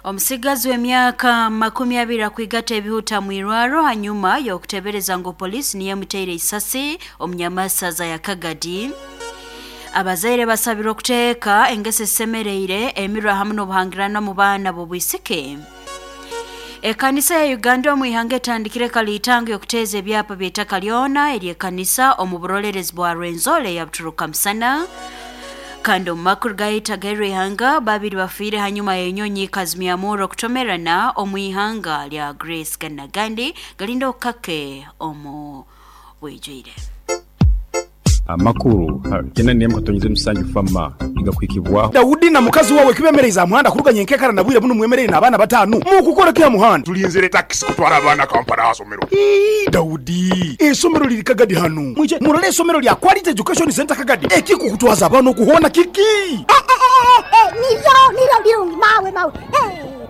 Omusigazi w'emyaka 20 akwigata ebihuta mwirwaro hanyuma y'okutebereza ngu polisi niyo emuteire isasi omunyamasaza ya Kagadi. Abazaire basabirwe okuteeka engeso ezisemereire emirwa hamu n'obuhangirano mu baana b'obwisiki. Ekanisa ya Uganda omu ihanga etandikire kaliitango y'okuteeza ebyapa by'eitaka lyona ery'ekanisa omu burolerezi bwa Rwenzori eya Buturuka Musana. Kandi omu makuru gaitu ag'erihanga, babiri bafiire hanyuma y'enyonyi kazimyamurro okutomerana omu ihanga lya Greece. Gandi nagandi galinda okukake omu bwijwire. Amakuru 97 FAMA nigakuhikibwaho. Daudi na mukazi wawe kibemereize aha muhanda kuruga nyenkekara na bwire bunu mwemereire n'abaana batanu. Mukukora ki aha muhanda? Tulinzire takisi kutwara abaana Kampala aha somero. Ii, Daudi, eisomero liri Kagadi hanu. Mwije murole eisomero lya Quality Education Centre Kagadi. Ekikukutwaza abaana oku hoona kiki? Nibyo, nibyo birungi mawe, mawe.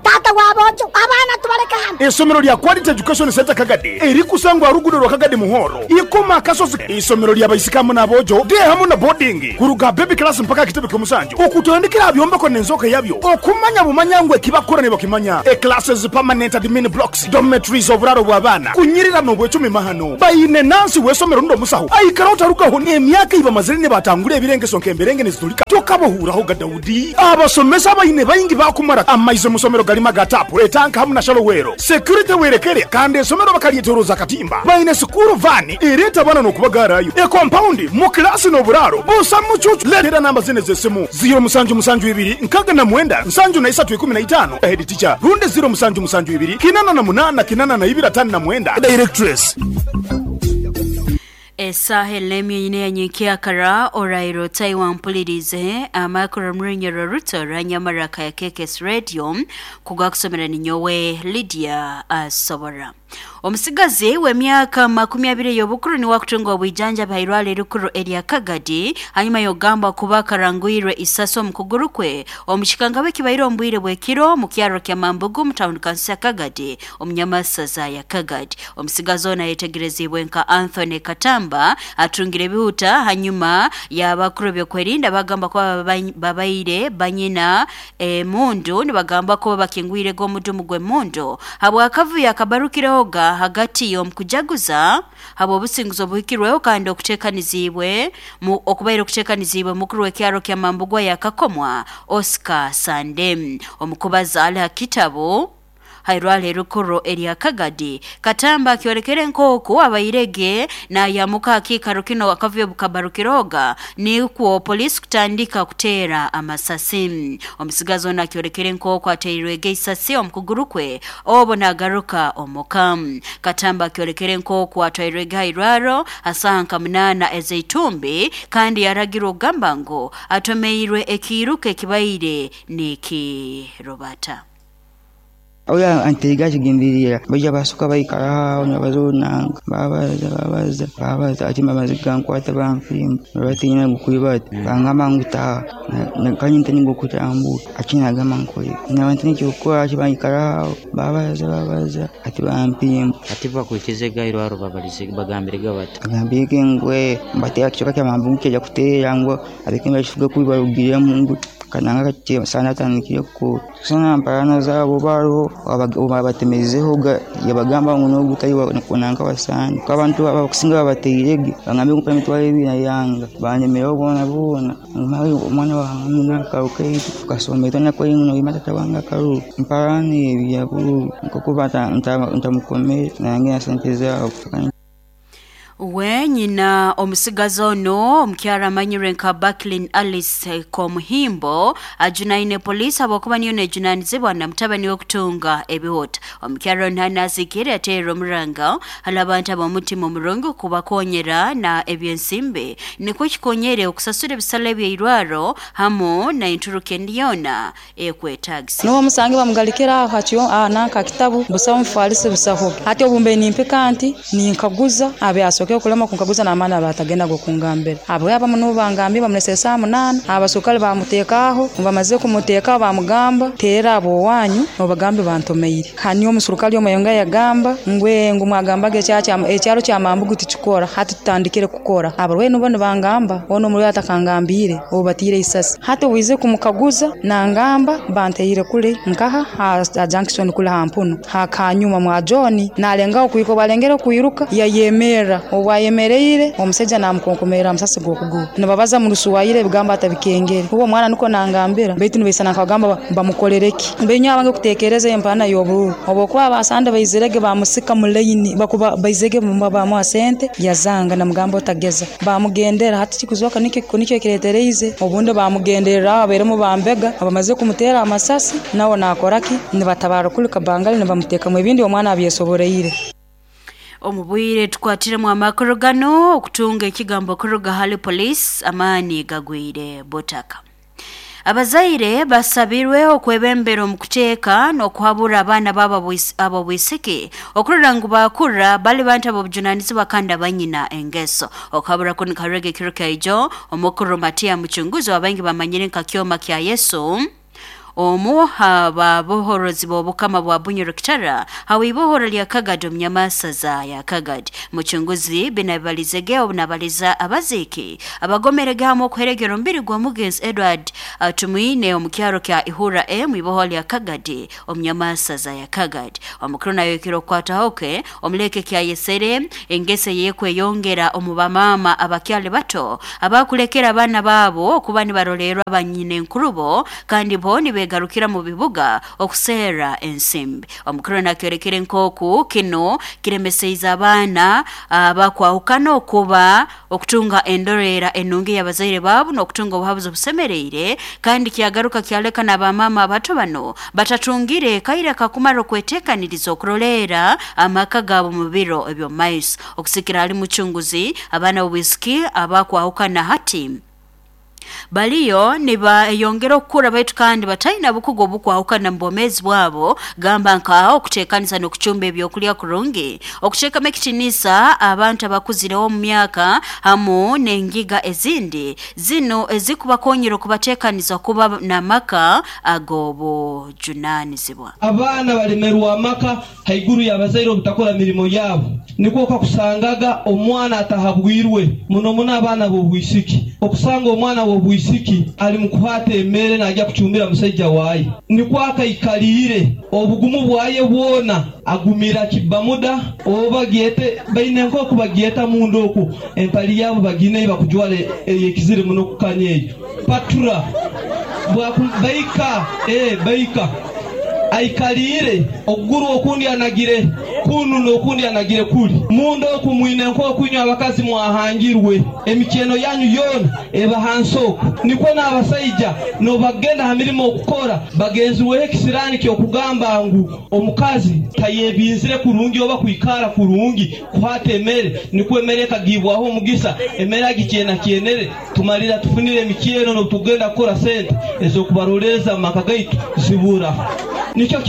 Taata w'aboojo, abaana tubaleke hanu. Eisomero lya Quality Education Centre Kagadi erikusangwa aha luguudo rwa Kagadi Muhoro, Ikoma Akasozi. Eisomero lya baisiki hamu n'aboojo, day hamu na boarding, kuruga aha baby class mpaka aha kitebe ky'omusanju. Okutandikira aha byombeko n'enzooka yabyo, okumanya bumanya ngu eki bakukora nibakimanya. E Classes, permanent admin blocks, dormitories, oburaaro bw'abaana, kunyirira n'obwecumi mahano. Baine nansi w'eisomero rundi omusaho aikara otarugaho n'emyaka ei bamazire nibatangura ebirengeso nk'emberenge nizitulika. Tokabahuurahoga Daudi. Abasomesa abaine baingi baakumara amaizi omu somero garimu aga taapu, etanka hamu na shallow well. Security werekere kandi esomero bakaryetoroza akatimba. Baine sikuuru vaani ereeta abaana n'okubagaarayo. Ekompaundi mu kilaasi n'oburaaro busa mucuucu. Leetera namba zinu ez'esimu, 0772 69 73 15, Head Teacher, rundi 0772 88 82 59, Directress. Esaaha eri n'emwe ine ya nyenkyakara oraire otahi wampuliriize amakuru omu runyoro ruto rwa Nyamaraka ya KKS Radio kugakusomera ninyowe Lydia Asobora. Omusigazi w'emyaka 20 ey'obukuru niwe akutunga obwijanjabi ha irwaro erikuru erya Kagadi hanyuma y'okugambwa kuba akarangwirwe isasi omu kuguru kwe omu kikangabwa ekibaire omu bwire bw'ekiro omu kyaro kya Mambugu mu tawuni kanso ya Kagadi omu nyamasaza ya Kagadi. Omusigazi onu ayetegerezibwe nka Anthony Katamba atungire ebihuta hanyuma y'abakuru b'okwerinda bagamba kuba babaire banyina emundu nibagamba kuba bakingwirege omudumu gw'emundu habw'akavuyo akabarukirehoga hagati y'omukujaguza habw'obusinguzi obuhikirweho kandi okuteekanizibwe okubaire okuteekanizibwe mukuru w'ekyaro kya Mambugwa ya Kakomwa Oscar Sande. Omukubaza ali ha kitabu hairwaro erikuru erya Kagadi Katamba akyolekere nk'oku abairege nayamuka akiikaro kino akavuyo bukabarukiroga nikwo polisi kutandika kuteera amasasi. Omusigazi onu akyolekere nk'oku ateirwege isasi omu kuguru kwe obu nagaruka omuka. Katamba akyolekere nk'oku atwairwege hairwaro ha saaha nka 8 ez'eitumbi kandi yaragirwe okugamba ngu atomeirwe ekiiruka ekibaire nikirubata. Oyo anteiga akigenderera baija basoka baikara aho nibabaza orunanga, babaza babaza babaza ati amaizi gankwata bampimba batiina gukwibata bangamba ngu taha kandi ntandika okutambura ati nagamba nkore naba ntaine ekyokukora ati baikara aho babaza babaza ati bampimba. Ati bakwikize gairwaro babalize bagambirege bati Bagambirege ngu nibateera ekicweka kya Mambugu kyaija kuteera ngu abekembe bakifuge kubi barugiremu ngu kananga sana atandikire kukora sana mparana zaabo baroho babatemezeho yabagamba ngu nogu tali nanka wasani ko abantu abakusinga babateirege bagambe ngu emitwaro ebiri nayanga banemeraho boona boona omwana wange nakaruka eitu tukasoma itwe noima tata wange akaruru mparana ebi yaburu nkokuba ntamukomere nange na sente zaabo. We nyina omusigazi ono omukyara amanyirwe nka Baklin Alice Komuhimbo ajunaine polisi habwokuba niyo nejunanizibwa na mutabani w'okutunga ebihuta. Omukyara ono hanasikire ateerera omuranga hali abantu ab'omutima omurungi kubakonyera na ebyensimbi nikwo kikonyere okusasura ebisale eby'eirwaro hamu na enturuka endi yoona ekwetagisa. N'obu omusange bamugalikira aho hakyo nanka kitabu busaho mufalisi busaho. Hati obu mbe nimpika nti ninkaguza abe asoke Batandikire kulema kunkaguza n'amaani abatagenda gokungambira. Abo abamu nubo bangambire bamulese saa 8, abasukali bamuteekaho, bamaze kumuteekaho bamugamba teera abo wanyu nobagambe bantomeire. Hanyuma omusurukali omwe yagamba ngwe ngu mwagambaga ekyaro kya Mambugu tikikora, hati tutandikire kukora. Abarwayi nubo nibangamba ono omurwayi atakangambire obu batiire isasi. Hati owize kumukaguza nangamba banteire kule nkaha ha junction kule ha mpunu hakanyuma mwa John nalengaho kuiruka, balengera kuiruka yayemerera, obwayemereire omusajja namukonkomera amasasi g'okuguru. Nibabaza mu Rusuwayire ebigambo atabikengere. Uwo mwana niko nangambira baitu nibaisana nkagamba bamukorereki. Mbenyo abange kutekereza empana y'obururu obokuba abasande baizirege bamusika mu line bakuba baizege bamuha sente yazanga namugamba otageza bamugendera. Hati kikuzoka nikyo kiretereize obundi bamugenderera abairemu bambega abamaze kumutera amasasi nawo nakoraki nibatabara kuli kabangali nibamuteekamu ebindi omwana abyesoboreire. Omubwire tukwatiremu amakuru gano okutunga ekigambo kuruga hali police amaani gagwire butaka. Abazaire basabirwe okwebembera omukuteeka n'okuhabura abaana babo abobwisiki okurora ngu bakura bali bantu abobujunanizibwa kandi abanyina engeso. Okuhabura kunu karege kiro kaijo omukuru Matia Muchunguzi wabangi bamanyire nka Kyoma kya Yesu omu ababohorozi b'obukama bwa Bunyoro Kitara hawibohoro lya Kagadi omunyamasaza ya Kagadi. Muchunguzi binabalizege obunabaliza abaziki abagomerege hamwe okuheregera omubiri gwa mugenzi Edward Tumwine omukyaro kya Ihura M iboho lya Kagadi omunyamasaza ya Kagadi. Omukuru nayo kiro kwatahoke omuleke kya Yesere engese yekweyongera omubamama abakyali bato abakulekera abana babo okuba nibarolerwa banyine nkurubo kandi bo nibegarukira mu bibuga okusera ensimbi. Omukuru nakyorekere nkoku kino kiremeseiza abaana abakwahukana okuba okutunga endorera enungi y'abazaire baabo n'okutunga obuhabuzi obusemereire, kandi kyagaruka kyaleka n'abamama abato bano batatungire kaire kakumara okweteekaniriza okurolera amaka gaabo mu biro eby'omumaiso. Okusikira hali Muchunguzi abaana b'obwisiki abakwahukana hati baliyo nibayongera okukura baitu kandi bataina bukugu obukwahukana mu bwomeezi bwabo, gamba nka okuteekanisa n'okucumba ebyokulya kurungi, okuteekamu ekitiinisa abantu abakuzireho omu myaka hamu n'engiga ezindi zino ezikubakonyera okubateekaniza kuba n'amaka ag'obujunanizibwa. Abaana balemerwa amaka haiguru y'abazaire obutakora mirimo yabo, nikwo kakusangaga omwana atahabwirwe muno muno abaana b'obwisiki. Okusanga omwana w'obwisiki ali mukuhata emere najya kucumbira musaija waye, nikwo akaikalire obugumu bwaye bwona agumira kibamuda oba gyete baine nkoku bagyeta munda oku empali yabo bagine bakujwala eyekizire muno kukanya eyo patura baika baika aikalire okuguru okundi anagire kunu n'okundi anagire kuli munda oku mwine nkokunywa abakazi mwahangirwe emikyeno yanyu yoona eba hansi oku. Nikwo n'abasaija nobagenda ha mirimo okukora bagenziweho ekisirani ky'okugamba ngu omukazi tayebinzire kurungi oba kwikara kurungi kuhata emere, nikwo emere ekagibwaho omugisa emere agikyenakyenere tumalira tufunire emikyeno n'obutugenda kukora sente ez'okubarolereza mu maka gaitu zibura. Nikyo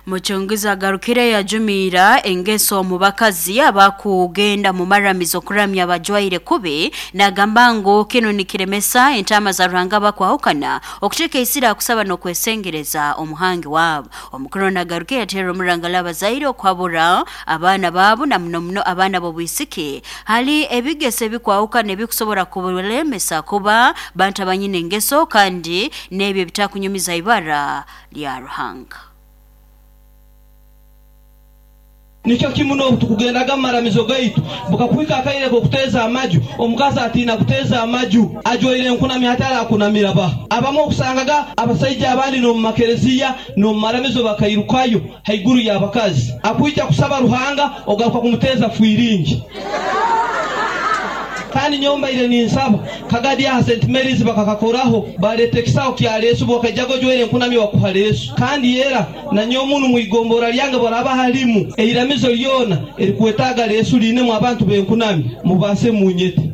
Muchunguzi agarukire yajumira engeso mu bakazi abakugenda mu maramizo kuramya abajwaire kubi, nagamba ngu kino nikiremesa entama za Ruhanga bakwahukana okuteeka isira kusaba n'okwesengereza omuhangi wabo. Omukuru nagarukire yatera omurangala abazaire okuhabura abaana baabo na muno muno abaana b'obwisiki hali ebigeso ebikwahukana ebikusobora kubalemesa kuba bantu abanyine engeso kandi n'ebyo ebitakunyumiza ibara lya Ruhanga. Nikyo kimu n'obu tukugendaga mu maramizo gaitu bukakuhika akaire k'okuteeza amaju, omukazi atiina kuteeza amaju ajwaire enkunami hati arakunamira ba. Abamu okusangaga abasaija abandi n'omu makereziya n'omu maramizo bakairukayo haiguru y'abakazi, akwija kusaba Ruhanga ogaruka kumuteeza fwiringi. Kandi nyowe mbaire ninsaba Kagadi aha St Mary's bakakakoraho baleeta ekisaho kya leesu bwakaijaga ojwaire enkunami bakuha leesu. Kandi era nanyowe munu mwigombora lyange bwaraba halimu eiramizo lyona erikwetaaga leesu liinemu abantu b'enkunami mubaase munyete.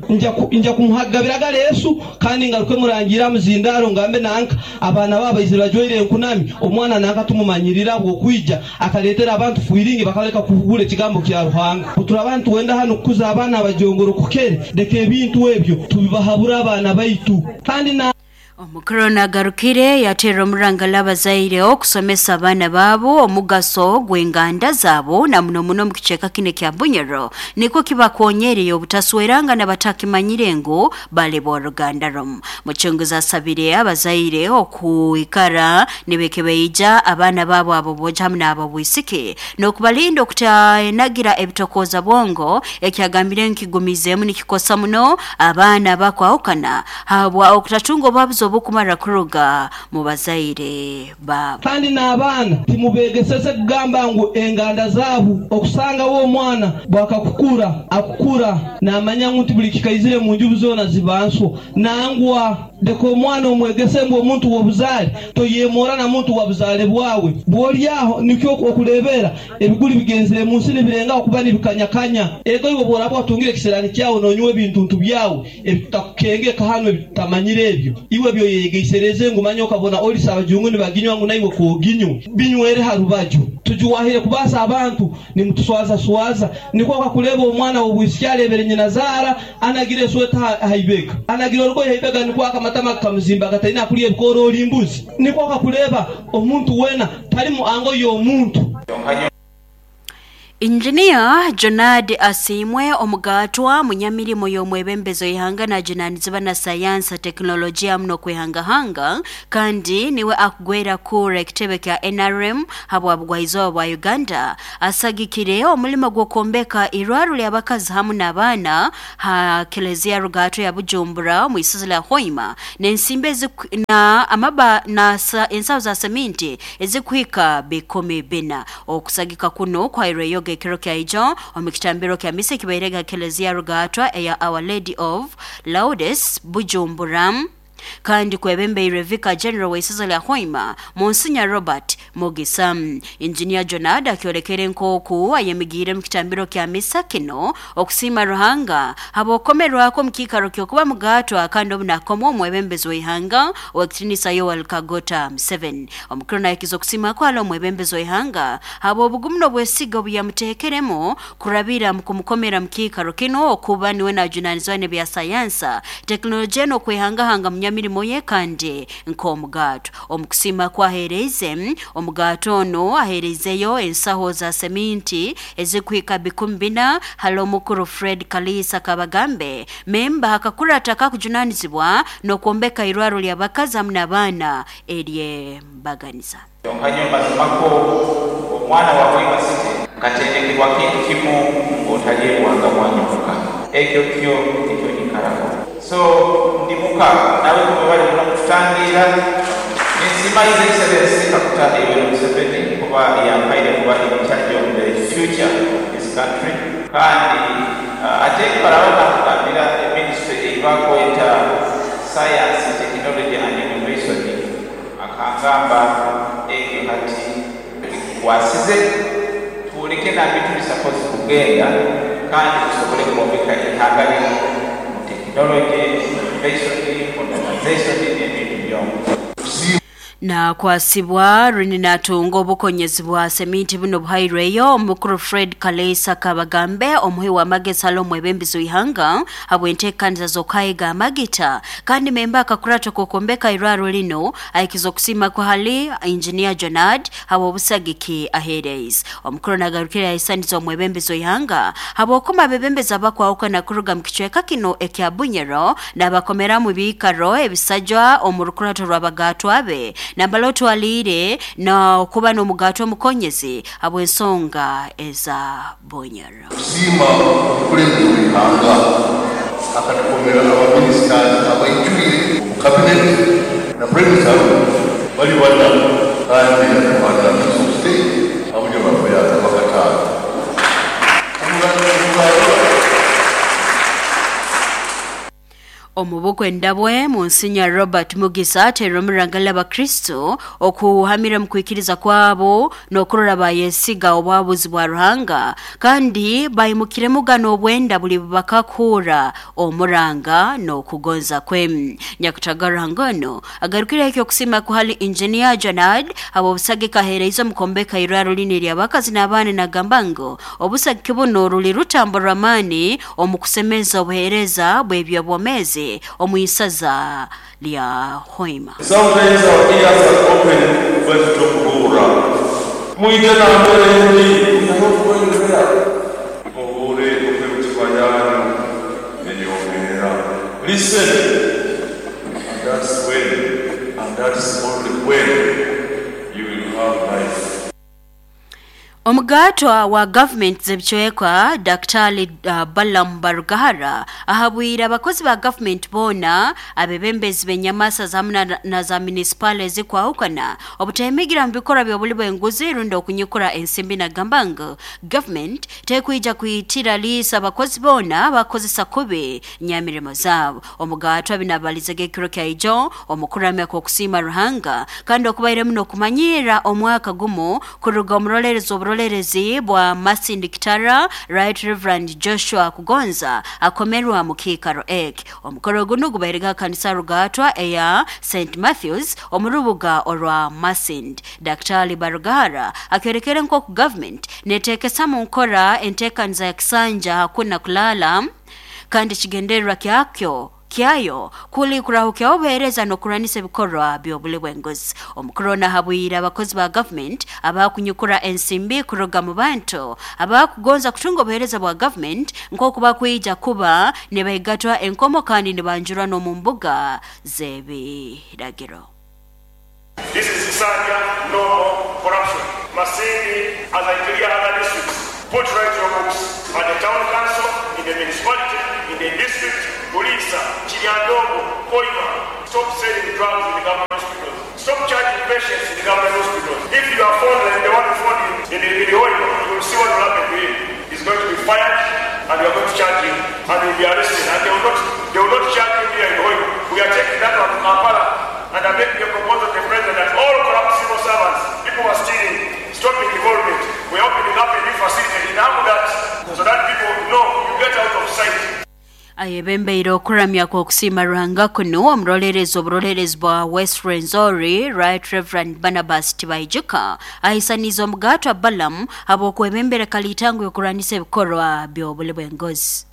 Nja kumuhagabiraga leesu kandi ngaruke murangiire aha muzindaaro ngambe nanka abaana baabo baizire bajwaire enkunami omwana nanka tumumanyirira bw'okwija akaleetera abantu fwiringi bakaleka kuhugura ekigambo kya Ruhanga. Obu nituwenda hanu kukuza abaana abajongoro kukere leka ebintu ebyo tubibahabura abaana baitu kandi na Omukuru nagarukire yateera omurangala abazaire okusomesa abaana baabo omugaso gw'enganda zaabo na muno muno mu kicweka kinu ekya Bunyoro nikwo kibakonyereye obutasweranga n'abatakimanyire ngu bali b'oruganda rumu. Muchunguzi asabire abazaire okwikara nibekebeija abaana baabo abo boojo hamu n'abo bwisiki n'okubalinda okutaenagira ebitokooza bwongo ekyagambire nkigumizeemu nikikosa muno abaana abakwahukana habwa okutatunga obuhabuzi obukumara kuruga mu bazaire baabo. Kandi n'abaana timubeegeseze kugamba ngu enganda zaabo okusangawo omwana bwakakukura akukura naamanya ngu nti buli kikaizire mu njubu zoona ziba nswo nangwa leka omwana omwegese ngu omuntu w'obuzaale toyemora na muntu wa buzaale bwawe bw'olyaho nikyo okureebera ebiguli bigenzere mu nsi nibirengaho kuba nibikanyakanya ego iwe bw'oraba watungire ekiseraani kyawe noonywa ebintuntu byawe ebitakukengeka hanu ebitutamanyire ebyo iwe byoyeyegeisereze ngu manya okabona olisa abajungu nibaginywa ngu naiwe kooginywa binywere ha rubaju tujuwahire kubaasa abantu nimutuswazaswaza nikwo okakureeba omwana w'obwisiki areebere nyina zaara anagira esweta ha ibega anagira orugoye ha ibega nikwo akamatama kakamuzimba gataine akurya ebikoora ori mbuzi nikwo okakureeba omuntu weena tali mu ango y'omuntu. Injiniya Jonard Asiimwe omugaatwa munyamirimo y'omwebembezo ihanga najunaanizibwa na sayansi tekinologiya muno okwehangahanga kandi niwe akugwera kura ekitebe kya NRM habwa bugwaizooba bwa Uganda asagikire omulimo gw'okwombeka irwaro ly'abakazi hamu n'abaana ha Kelezia Rugato ya Bujumbura omu isozi lya Hoima n'ensimbi na amaba na ensaho za seminti ezikuhika 14,000. Okusagika kuno kwairweyo ekiro kya ijo omu kitambiro kya misa ekibairega Kelezia Rugatwa eya Our Lady of Lourdes Bujumbura kandi kwebembeirwe Vicar General w'isozi lya Hoima Monsinya Robert Mugisa. Injinia Jonard akyolekere nk'oku ayemigiire mu kitambiro kya misa kino okusiima Ruhanga habw'okukomerwako omu kiikaro ky'okuba mugaatwa kandi obu nakomwa omwebembezi w'ihanga ow'ekitiinisa Yoweri Kaguta Museveni. Omukuru nahikiza okusiima kwala omwebembezi w'ihanga habw'obugumu n'obwesiga obu yamuteekeremu kurabira mu kumukomera mu kiikaro kino okuba niwe najunaanizibwa n'ebya sayansa tekinologiya n'okwehangahanga munyamirimo ye kandi nk'omugato. Omukusiima kwaheereize omugato ono aheereizeyo ensaho za seminti ezikuhika 14,000 hali omukuru Fred Kalisa Kabagambe memba akakurata kakujunaanizibwa n'okwombeka irwaro ly'abakazi hamu n'abaana ery'embaganiza. Kyonka mazimako omwana wa Hoima City nkatendekebwa kintu kimu ng'otalyebwanga bwanyuka ekyo kyo nikyo nyikarako so ndi muka nawe kumwe bali muno kututangira nensima His Excellency Kaguta Yoweri Museveni kuba yampaire kuba in charge of the future of this country kandi ate baraba nakugambira ministry eibakweta science, technology and innovation akangamba ekyo hati wasize tuwulike nambi tuli supposed kugenda kandi tusobole kwombeka ihanga lino mu technology, innovation, modernization n'ebintu byonka. Na kwasibwa runi natunga obukonyezi bwa seminti buno buhairweyo omukuru Fred Kalesa Kabagambe omuhi w'amagezi hali omwebembezi w'ihanga habw'enteekaniza z'okuhayiga amagita kandi memba akakurata k'okwombeka irwaro lino ahikiza okusiima kwa hali Engineer Jonard habw'obusagiki aheereize. Omukuru nagarukire yahisaniza omwebembezi w'ihanga habw'okuma abebembezi abakwahukana kuruga mu kicweka kino ekya Bunyoro n'abakomeramu ebiikaro ebisajwa omu rukurato rw'abagatwa be nambala otwaliire n'okuba n'omugato omukonyezi habw'ensonga eza Bunyoro. Kusiima omukulembeze w'ihanga akatukomera abaminisitazi abaijwire mu kabineti na prime minister bali bana kandi yatuhana minister of state abujo baffe bakataano. Omu Omubukwenda bwe Monsignor Robert Mugisa ateera omuranga l'Abakristo okuhamira mu kwikiriza kwabo n'okurora bayesiga obwabuzi bwa Ruhanga kandi bayimukiremu gano obwenda buli bakakuura omuranga n'okugonza kwe. Nyakutaga Ruhanga ono agarukire ekyokusiima kuhali Engineer Janad abo obusagika aheereize omukombeka irwaro lini ery'abakazi n'abaana nagamba ngu obusagiki buno ruli rutambo rw'amaani omu kusemeza obuheereza bw'ebyobwomeezi omu isaza lya Hoima. Sometimes our ears are open when tukubuura. Mwije nambere ndi, we are not going there. Mubuure okw'emitima yanyu eyomeera. Listen, and that's when, and that's only when you will have life. Omugatwa wa gavumenti z'ebicweka Daktari Balaam Barugahara ahabwire abakozi ba gavumenti boona abebembezi b'enyamasa zamu na za munisipaali ezikwahukana obutahimigira mu bikorwa by'obuli bw'enguzi rundi okunyikura ensimbi nagamba ngu gavumenti tekwija kwitira liisa abakozi boona bakozesa kubi nyamirimo zaabo. Omugatwa binabalizege ekiro kya ijo omukuramya kw'okusiima Ruhanga kandi okubairemu n'okumanyira omwaka gumu kuruga omurolerezi oburolerezi bwa Masindi Kitara Right Reverend Joshua Kugonza akomerwa mu kiikaro eki. Omukoro guno gubairega kanisa Rugatwa eya St Matthews omu rubuga orwa Masindi. Daktari Barugahara akyorekere nk'oku government neteekesa mu nkora enteekaniza ya kisanja hakuna kulala kandi kigendererwa kyakyo kyayo kuli kurahukya obuheereza n'okurwanisa ebikorwa by'obuli bw'enguzi. Omukuru ahabwire abakozi ba gavumenti abakunyukura ensimbi kuruga mu bantu abakugonza kutunga obuheereza bwa gavumenti nk'oku bakwija kuba nibahigatwa enkomo kandi nibanjurwa n'omu mbuga z'ebiragiro. This is Kisanja, no more corruption. Masindi, as I clear other districts, put right your books at the town council, in the municipality, in the district, Bulisa, Kiryandongo, Hoima. Stop selling drugs in the government hospitals. Stop charging patients in the government hospitals. If you are found like the one who found in the Hoima, you will see what will happen to him. He's going to be fired and we are going to charge him and he will be arrested. And they will not charge him here in Hoima. We are taking that one to Kampala and are making a proposal to the president that all corrupt civil servants, people who are stealing, stopping development. We are opening up a new facility in Amudat so that people know you get out of sight. Ayebembeire okuramya kw'okusiima Ruhanga kuno omurolerezi oburolerezi bwa West Rwenzori Right Reverend Barnabas Tibaijuka ahisaniza omugatwa Balaam habw'okwebembera kalitango y'okurwanisa ebikorwa by'obuli bw'engozi.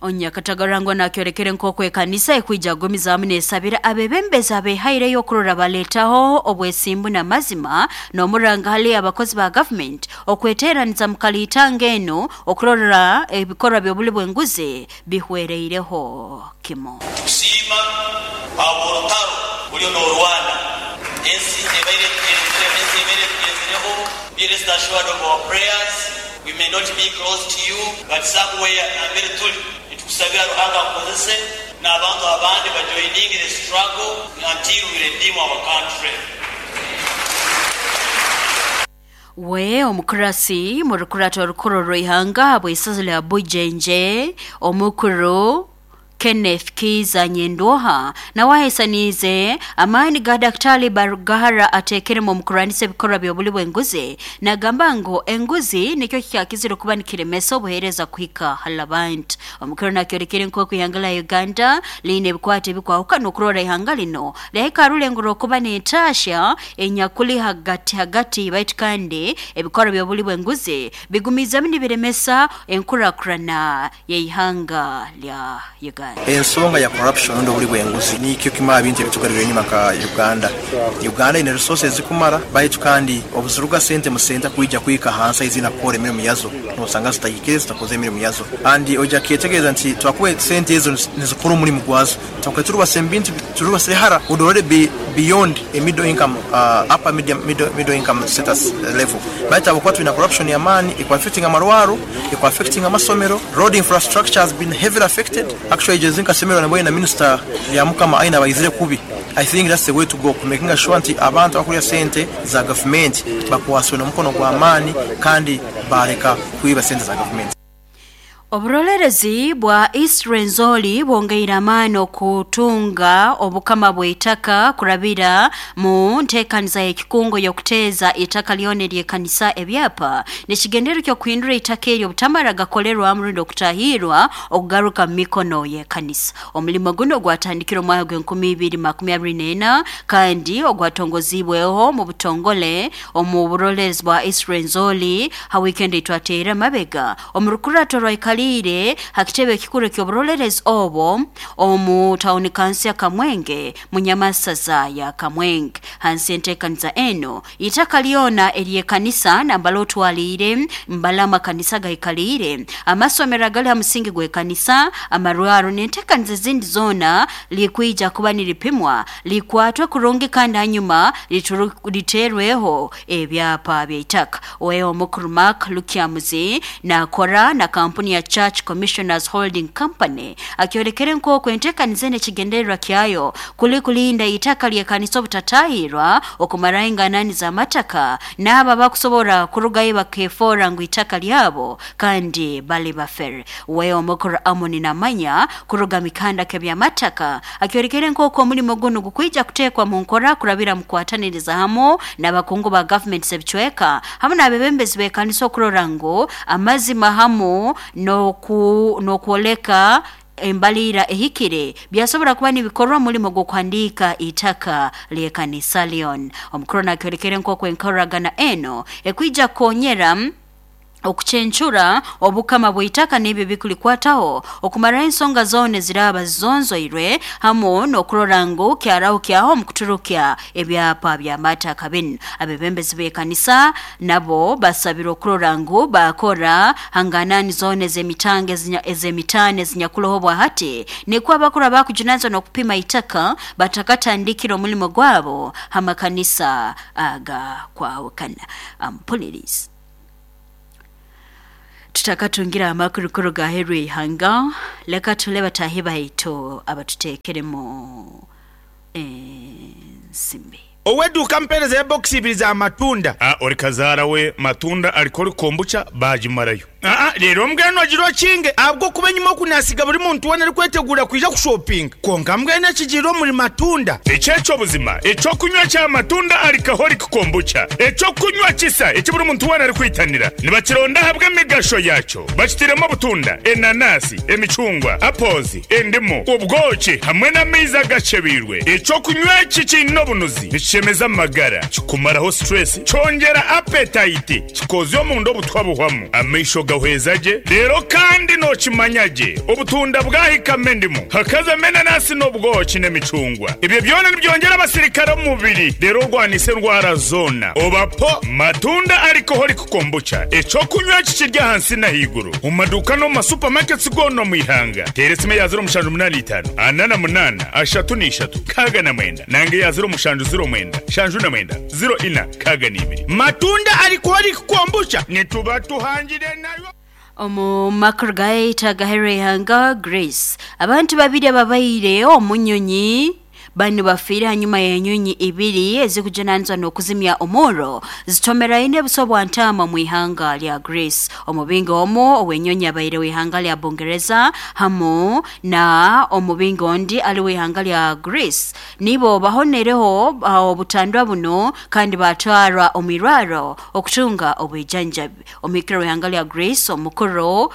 Onyakatagarangwa nakyorekere nk'oku ekanisa ekwija gumizaamu neesabira abebembezi abehaireyo okurora baleetaho obwesimbu n'amazima n'omuranga hali abakozi ba gavumenti okweteeraniza mu kaliitanga eno okurora ebikorwa by'obuli bw'enguzi bihwereireho kimo. Kusiima aborutaro buriyo n'orwana ensi ebaire tugenzireho. Be rest assured of our prayers. We may not be close to you, but somewhere nambere tuli nitukusabira Ruhanga akozese n'abantu abandi bajoining the struggle until we redeem our country. We omukurasi mu rukurato orukuru rw'ihanga bw'isaza lya Bujenje omukuru Kenneth Kiza Nyendwoha nawe ahaisaniize amaani ga Daktari Barugahara ateekeremu omu kurwanisa ebikorwa by'obuli bw'enguzi nagamba ngu enguzi nikyo kikyakizire okuba nikiremesa obuheereza kuhika hali abantu. Omukuru nakyorekere nk'oku ihanga lya Uganda liine ebikwate ebikwahukana okurora ihanga lino lyahika rulengo rw'okuba n'entaasha enyakuli hagati hagati baitu kandi ebikorwa by'obuli bw'enguzi bigumizamu nibiremesa enkurakurana y'ihanga lya Uganda. Ensonga ya corruption ndo buli bwenguzi nikyo kimara bintu ebitugarira enyuma ka Uganda. Uganda ine resources zikumara baitu kandi obuzuruga sente musenta kuija kuika hansa izina kukora emirimu yazo nosanga zitayikire zitakoze emirimu yazo andi oja kyetegereza nti twakuwe sente ezo nizikora omulimu gwazo twakwe turubase mbintu turubase hara would already be beyond a middle income upper middle income status level baitu abakuba tulina corruption ya maani ikwa affecting amarwaro ikwa affecting amasomero. Road infrastructure has been heavily affected. Actually jezinka semero na minister ya mukama aina bayizire kubi. I think that's the way to go, making sure nti abantu abakulya sente za government bakwaswe n'omukono gwa maani kandi bareka kuiba sente za government. Oburolerezi bwa East Rwenzori bwongeire amaani okutunga obukama bw'eitaka kurabira mu nteekaniza y'ekikungo y'okuteeza itaka lyona ery'ekanisa ebyapa n'ekigendererwa ky'okuhindura itaka eryo obutamara gakolerwamu rundi okutahiirwa okugaruka mu mikono y'ekanisa. Omulimo guno gwatandikire omwaka gw'enkumi ibiri makumi abiri n'ena kandi ogwatongoziibweho mu butongole omu burolerezi bwa East Rwenzori ha wiikendi eitwateire amabega omu rukurato rwaikaliire ha kitebe ekikuru eky'oburolerezi obwo omu tawuni kanso ya Kamwenge mu nyamasaza ya Kamwenge. Hansi y'enteekaniza enu, itaka lyona ery'ekanisa nambala otwaliire mbala amakanisa gaikaliire, amasomero agali ha musingi gw'ekanisa, amarwaro n'enteekaniza ezindi zoona likwija kuba niripimwa, likwatwe kurungi kandi hanyuma liteerweho ebyapa by'itaka. Oweho omukuru Mark Lukyamuzi naakora na kampuni ya Church Commissioners Holding Company akyolekere nk'oku enteekaniza enu ekigendererwa kyayo kuli kulinda itaka ly'ekanisa obutatahirwa okumaraho enganani z'amataka n'abo abakusobora kurugayo bakefoora ngu itaka lyabo kandi bali bafere. We omukuru Amoni Namanya kuruga mikanda k'ebyamataka akyolekere nk'oku omulimo gunu gukwija kuteekwa mu nkora kurabira mu kukwataniriza hamu n'abakungu ba gavumenti z'ebicweka hamu n'abebembezi b'ekanisa okurora ngu amazima hamu n'okwoleka embaliira ehikire byasobora kuba nibikorwa omulimo gw'okuhandiika itaka ly'ekanisa lyona. Omukuru nakyolekere nk'oku enkoragana eno ekwija kukonyera okucencura obukama bw'itaka n'ebyo ebikulikwataho okumaraho ensonga zoona eziraaba zizonzoirwe hamu n'okurora ngu kyaraho kyaho omu kuturukya ebyapa by'amataka binu. Abebembezi b'ekanisa nabo basabirwe okurora ngu baakora hanganani zoona ez'emitango ez'emitaano ezinyakuroho obwahati nikwo abakuru abakujunanizibwa n'okupima itaka batakatandikire omulimo gwabo ha makanisa agakwahukana. Ampulirizi. Tutakatungire amakuru kuruga aheeru y'ihanga, leka tule bataahi baitu abatuteekeremu ensimbi. Ow'eduuka ampeereza ya bokisi ibiri za matunda. A Ori kazaara we matunda alcoholic kombucha baagimarayo. Aa Reero mbwenu ogire okinge ahabw'okuba enyima oku naasiga buri muntu weena arikweteguura kwija kushopinga. Kwonka mbwenu ekigiire omuri matunda. Eki eky'obuzima, eky'okunywa kya matunda alcoholic kombucha, eky'okunywa kisa eki buri muntu weena arikwitanira. Nibakironda ahabw'emigasho yaakyo. Bakitairemu obutunda, enanasi, emicungwa, apples, endimu, obwoki hamwe n'amaizi agacebeirwe. Eky'okunywa eki kiine obunuzi, nikishemeza amagara, kikumaraho stress, kyongyera appetite, kikozya omunda obutwa buhwamu, amaisho gahweza gye, reero kandi nookimanya gye obutunda bwahikamu endimu, hakazamu enanasi n'obwoki n'emicungwa. Ebyo byona nibyongyera abasirikare omu mubiri reero orwanise endwara zoona. Oba po matunda alcoholic kombucha, eky'okunywa eki kiri ahansi n'ahaiguru omu maduuka n'omu ma supermarkets goona omu ihanga. Teera esimu eya 0785 48 33 69 nanga eya 0709 79 04 62. Matunda alcoholic kombucha nituba tuhangire nayo. Omu makuru gaitu agaheru y'ihanga Greece, abantu babiri ababaire omu nyonyi banu bafiire hanyuma y'enyonyi ibiri ezikujunanizibwa n'okuzimya omurro zitomeraine buso bwa ntaama omu ihanga lya Greece. Omubingi omu ow'enyonyi abaire w'ihanga lya Bungereza hamu na omubingi ondi ali w'ihanga lya Greece nibo bahonereho obutandwa bunu kandi batwarwa omu irwarro okutunga obwijanjabi. Omuhikirire w'ihanga lya Greece omukuru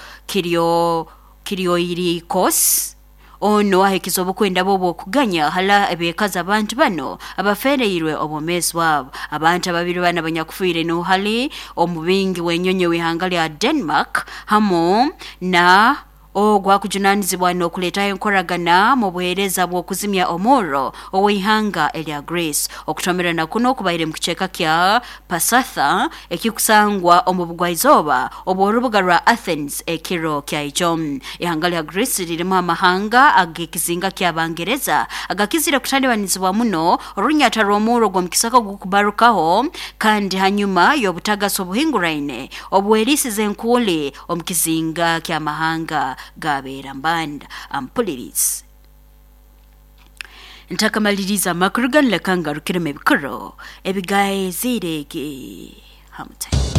Kyriakos ono ahikize obukwenda bwe obw'okuganya hala ebekaza abantu bano abafereirwe obwomeezi bwabo. Abantu ababiri banu abanyakufiire nuhali omubingi w'enyonyi w'ihanga lya Denmark hamu na ogu akujunanizibwa n'okuleetaho enkoragana mu buheereza bw'okuzimya omurro ow'ihanga erya Greece. Okutomerana kuno kubaire mu kicweka kya Pasatha ekikusangwa omu bugwaizooba obw'orubuga rwa Athens ekiro kyaijo. Ihanga lya Greece lirimu amahanga ag'ekizinga ky'Abangereza agakizire kutalibanizibwa muno orunyata rw'omurro gw'omu kisaka ogukubarukaho kandi hanyuma y'obutagasi obuhinguraine obwerisize enkuuli omu kizinga ky'amahanga gabeera mbanda. Ampulirizi. Ntakamaliriza amakuru ganu leka ngarukiremu ebikuru ebigaeziire egi hamutwe.